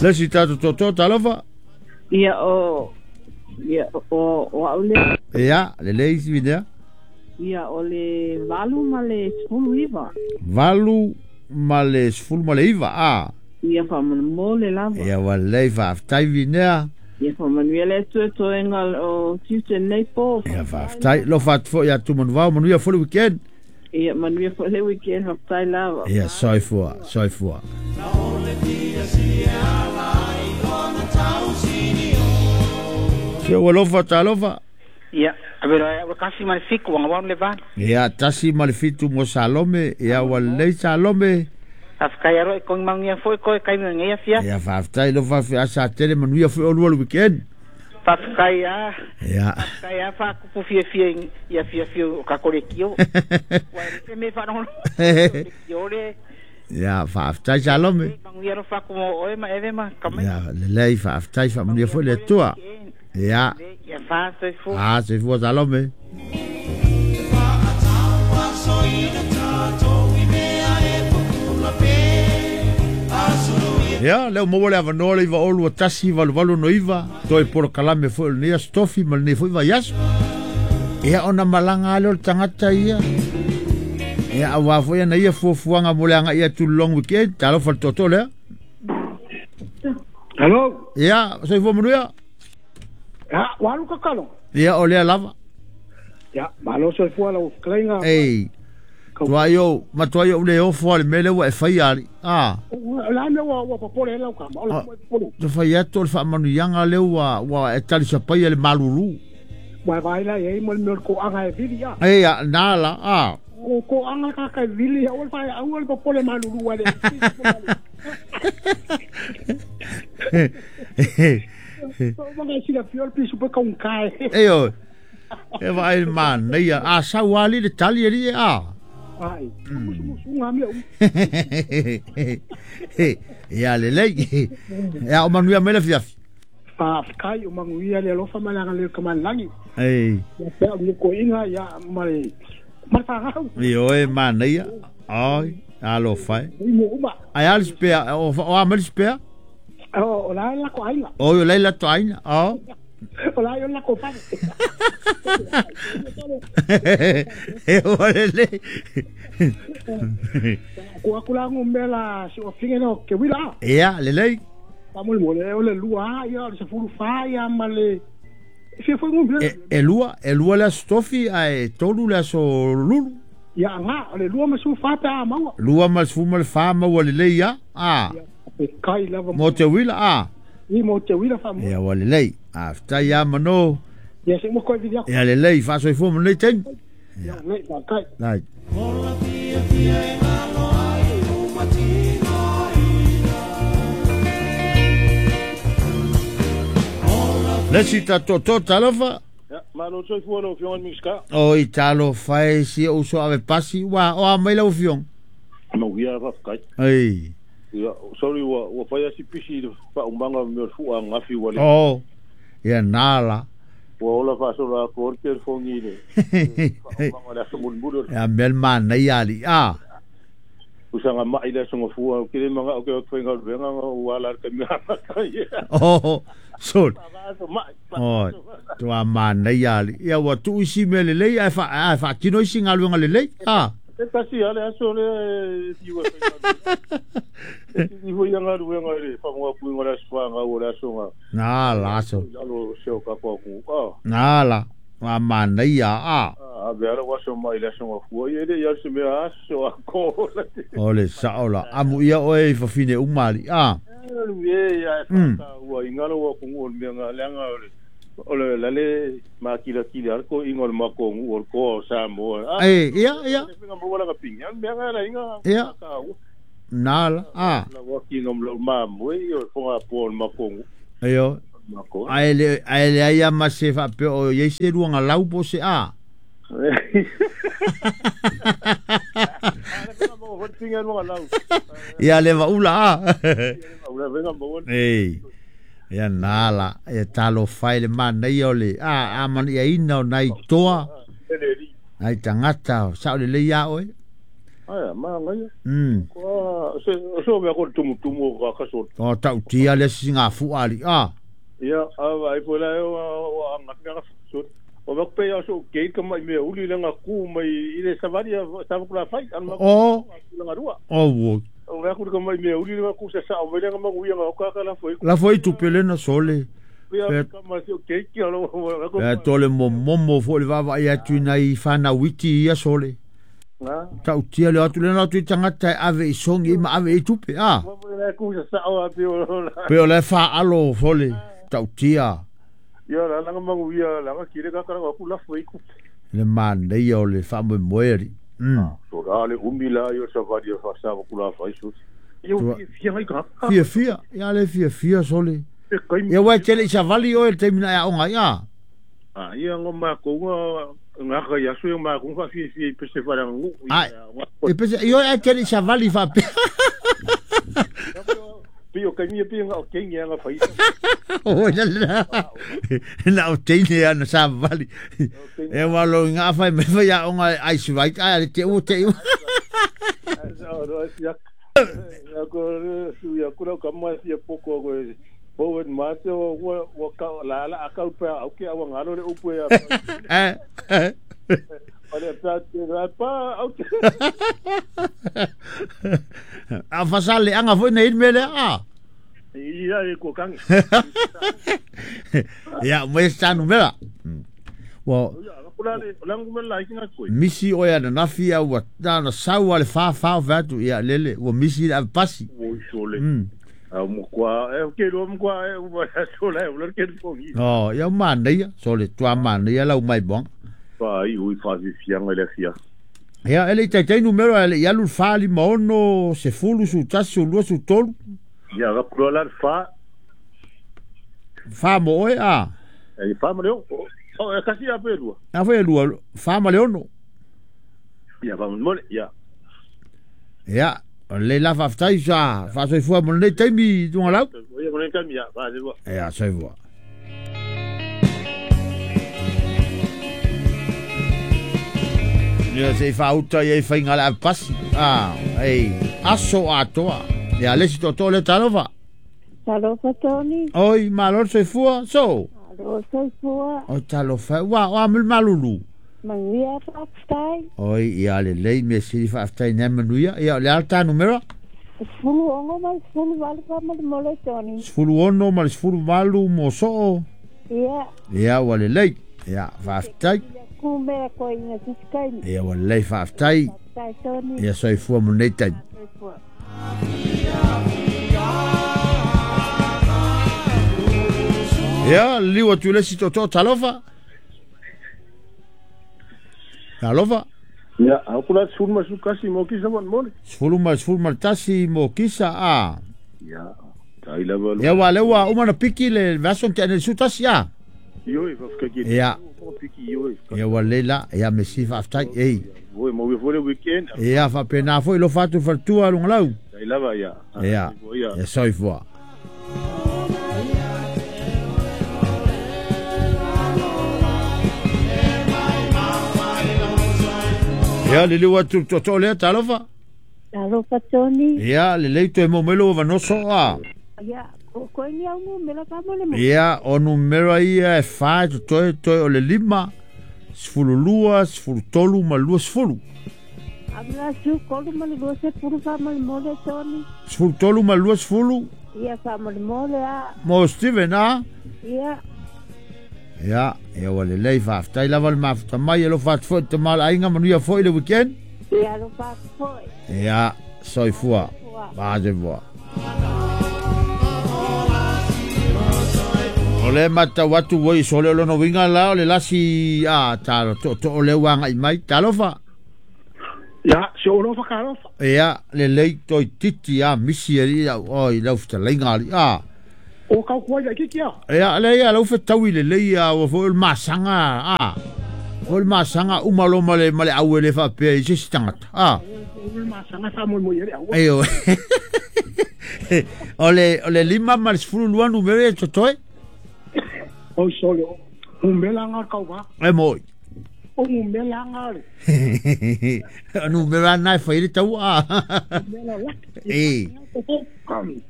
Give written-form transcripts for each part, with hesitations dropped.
Le si tatou toto talofa. Ia o ia o au le. Ia, le lei si vinea. Ia o le 8 ma le 19. 8 ma le 19 a. Ia faamolemole lava. Ia ua lelei faafetai vinea. Ia faamanuia le Atua toega o tiute nei po. Ia faafetai. Lofa atu foi ia Tumanuvao, manuia foi le weekend. Ia manuia foi le weekend, faafetai lava. Ia soifua, soifua. Sia ua lofa talofa. Ia, avelo ua kasi ma le 7 ua ngawau le 8. Ia 1 ma le 7 mo Salome, ia ua lelei Salome. Faafetai aro e kogi manuia foi koe kaimi o lenei afiafi. Ia faafetai lofa afi asa tele manuia foi olua le weekend. Faafetai a. Ia. Faafetai a faakupu fiafia ia fiafia o kako le kio. Ua e se me wharongono. Kio le. Ia faafetai Salome. Manuia ro faku mo oe ma eve ma kamai. Ia lelei faafetai faamanuia foi le Atua. Ia. Ia faasoifua. Faasoifua Salome. Ia, leo maua le avanoa le iva olu a tasi valu valu no iva, toi polo kalame foi o lenei aso tofi ma lenei foi vaiaso. Ia ona malaga ale o le tagata ia. Ia auā foi ana ia fuafuaga mo le aga'i atu i le long weekend, talofa le tootoo lea. Hello. Ia, soifua manuia. Ya, ua alu kakalo. Ia, o lea lava. Ya, malo soifua lau fetalaiga. Ei, tuai ou, matuai ou le ofo lava i le mea lea ua e faia alii. A. O le a le mea ua popole ai lau tama? O le a ua e popole ai? Te fai atu o le faamanuiaga lea ua e talisapaia i le malulu. Ua e vaai la i ai ma le mea o le toaga e vili a. Ei, a, na la, a. O toaga kaka e vili, aua le fai, aua le popole malulu ua le. Ei oi, e vaai i le manaia, a sau lava alii le tali alii e a. Ia lelei, ia o manuia mai le afiafi. Faafetai o manuia le alofa ma le agalelei o le Tamalagi. Ei. Ia pea o le nukuaiga ia ma le ma le fanau. Ioe manaia. Oi, alofa e. Ai a le spare, o a mai le spare? O la e lako aiga. Oi, o la e lato aiga. O. O la e o lako fale. E ua lelei. Ku aku la ngumela si o finge no ke wila. Ia, lelei. Faamolemole, o le 2 ia, o le 14 ia ma le fia foi ngumela. E 2 le aso tofi ae 3 le aso lulu. Ia nga, o le 2 ma 14 pe a maua. 2 ma le 14 maua lelei ia. A. Ia, kai lava. Mo te wila a. I mo te wila faamoa. Ia ua lelei. A faafetai ia mano. Ia se mo koe vili aku. Ia lelei, faasoifua mo lenei taimi. Ia lelei, faafetai. Right. Le si tatou talofa. Ia, malo soifua lau Afioga i le Minisita. Oi, talofa e si ou uso ave pasi, ua o a mai lau Afioga? Mauia, faafetai. Ei. Ia, sorry ua fai lava si pisi i le faaumaga o mea o le fua ananafi ua le. Oh, ia nā la. Ua ola faasola atu ai le telefoni i le faaumaga o le aso mulimuli o le. Ia mea le manaia alii a. Usaga mai le aso gafua, ou te le manao ou te o atu faigaluega na ou ala i le taimi amata ia. Oh, sorry. Oi, tua manaia alii. Ia ua tuu isi mea lelei ae faatino isi galuega lelei. A. E tasi lava le aso lea e fiu e faigaluega. E sili foi ia galuega i le faamaopuiga o le aso fanau o le aso na. Nā la aso. I lalo o se o tatou atunuu. A. Nā la. Ua manaia a. A, avea lau aso mai i le aso gafua, ia e le i alu se mea aso atoa la te. O le sao la. Amu ia oe i fafine uma alii. A. E ia e faataua i lau atunuu o le mea na leaga o le o le lale makilatili a le toeaiina o le matou nuu o le toa o Samoa. A, Ei, ia, ia. le faiga maua lana pine, o le mea na la ina Ia. faataua. Nā la. A. Lau ati ina lau mamoe ia o le fogapoa o le matou nuu. Ioe. Matou. Ae le ae leai lava ma se faapea o i ai se luaga lau po o se a. Ia le vaula a. Ei. Ia nā la, ia talofa e le manaia o le a amaniaina o nai toa, nai tagata, sao lelei a oe. Ai ma ngai. Ko se so me ko tumu tumu ka ka so. O tau tia le singa fu ali a. Ia a vai po la o anga ka so. O va pe ya so ke ka mai me uli le nga ku mai i le savali sa ku la fai an ma. O. La rua. O wo. O va ku ka mai me uli le ku sa sa o me le nga ma nga ka ka la foi. La foi tu pelena sole. E tole momomo fo le vava ia tu nei whana witi ia sole. Tau tia le atu lena atu i tangata e ave i songi ma ave i tupe a. Pe o le wha alo fole tau tia. Ia la langa mangu ia langa kire ka kara ku la foi ku. Le manaia o le wha moe So la le umi la ia sa vari fa sa ku la fai so. Ia fia ngai ka. Fia fia, ia le fia fia sole. Ia wai tele i savali o el teimina ia onga ia. Ah, ia ngo ma ko nga ka ia so ma ko fa fia fia pese fara ngu. Ai. E pese io e tele i savali fa pe. Pio ka mi pio nga o kengi nga fai. O la la. Na o teine ia na savali. E walo nga fa me fa ia onga ai svai ai te o te. O ro ia. Ko su ia ku ka ma sia poko ko Powen mate o wa ka la la akau pa au ke awa ngalo le upu ya. Ole pa te pa au ke. A fasale anga foi nei mele a. Ia e ko kangi. Ia mo sta numera. Wa misi o ia na fia wa na sawa le fa fa vatu ia lele wa misi a pasi. O sole. Mukwa e ke ro mukwa e wa sola e lo ke fongi. Oh, ia manaia, sole tua manaia lau mai bong. Pa i ui fa fia ngai le fia. Ia ele tai tai numero ele ia lu fa li maono se fulu su tasu lu su tolu. Ia ga pro la fa. Fa mo e a. E fa mo le o e kasi a pe lua. A foi lua fa mo le ono. Ia fa mo le ia. Ia le la fa ftai sa fa soifua mo le taimi tunga lau. Ia mo le taimi ia fa soifua. Ia soifua. Ia se fa uta ia fa inga la pasi. Ah, ei, aso atoa. Ia le si toto le talofa. Talofa Tony. Oi, malo soifua, so. Malo soifua. O talofa, wa wa mul malulu. Manuia fa'afetai. Oi, ia lelei mea sili fa'afetai nei manuia. Ia o le ala numera? 16 ma le 18 fa'amolemole Tony. 16 ma le 18 mo so'o. Ia. Ia ua lelei. Ia fa'afetai. Ia kumea koiga sisikaimi. Ia ua lelei fa'afetai. Fa'afetai Tony. Ia soifua mo nei taimi. Soifua. Ia liu atu le si toto talofa. Alofa. Ia, au kula sefulu ma sefulu mo kisa mo mole. Sefulu ma sefulu tasi mo kisa a. Ia, tai lava. Ia wa lewa uma na piki le version te ane su tasi a. Io e fa ki. Ia. Piki io e. Ia wa lela, ia mesi fa aftai ei. Voi mo we fole weekend. Ia fa pena foi lo fatu fatua lunga lau. Tai lava ia. Ia. Ia soifua. Ia le liu atu toto lea talofa. Talofa Tony. Ia le lei toe momelo o vanoso a. Ia, ko ni au numera fa mo le mo. Ia, o numera ia e fa toe toe o le 5, 12, 13 ma 20. Abla su kolu ma le 20 fa mo le mole Tony. 13 ma 20. Ia fa mo le mole a. Mo Steven a. Ia. Ia, ia wa le lei fa'afetai lava le mafuta mai e lo fa'atufo'i te mala'aiga manuia fo'i le weekend. Ia lo fa'atufo'i. Ia, soifua. Fa'asoifua. O le matau atu ua i sole o lona uiga la o le lasi a talo to'oto'o le uaga'i mai talofa. Ia, se o lofa ka lofa. Ia, lelei toititi a misi ali'i a'u oi lau fetalaiga ali'i a. O kau kuai ai kiki a. Ia, le ia lau fetaui lelei a ua foi o le masaga a. O le masaga uma lo ma le au e le faapea i se isi tagata a. O le masaga faamoemoe ai le aua. Ioe. O le 5 ma le 12 numera e totoe. Oi sole, numera nga kau va. E moi. O numera anga le. Numera na e fai le taua. Numera la. E.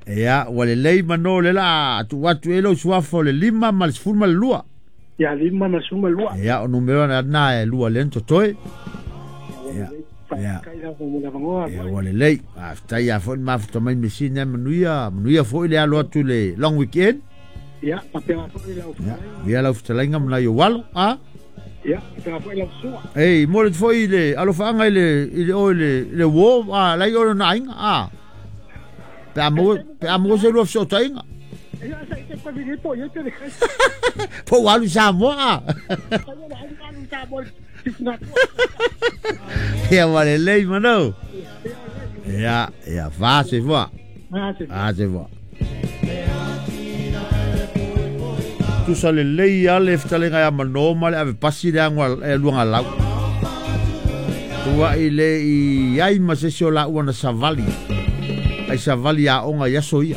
Ia, ua lelei manō le la atu atu e lou suafa o le 5 ma le 12. Ia 5 ma le 12. Ia, o numera na e lua lea na totoe. Ia. Ia. Ia, ua lelei. Faafetai a foi le mafuta mai mesina e manuia, manuia foi le alo atu le long weekend. Ia, papea foi lau fetalaiga. Ia, lau fetalaiga ma nai ou alo, a? Ia, papea foi lau sua. Ei, mo le foi le alofaaga i le i le o i le le uo, a lai o lona aiga, a? Pe a maua, pe a maua se lua fesootaiga. Ia, sa i te pavili po ia te le. Po ua alu i Samoa, a? Ia, ua lelei manau. Ia, ia, fa se fua. A se fua. Tusa lelei lava le fetalaiga ia Manō ma le ave pasi le ago a Luagalau. Tua'i le i ai ma se isi o laua na savali, ai savali aoga i aso ia.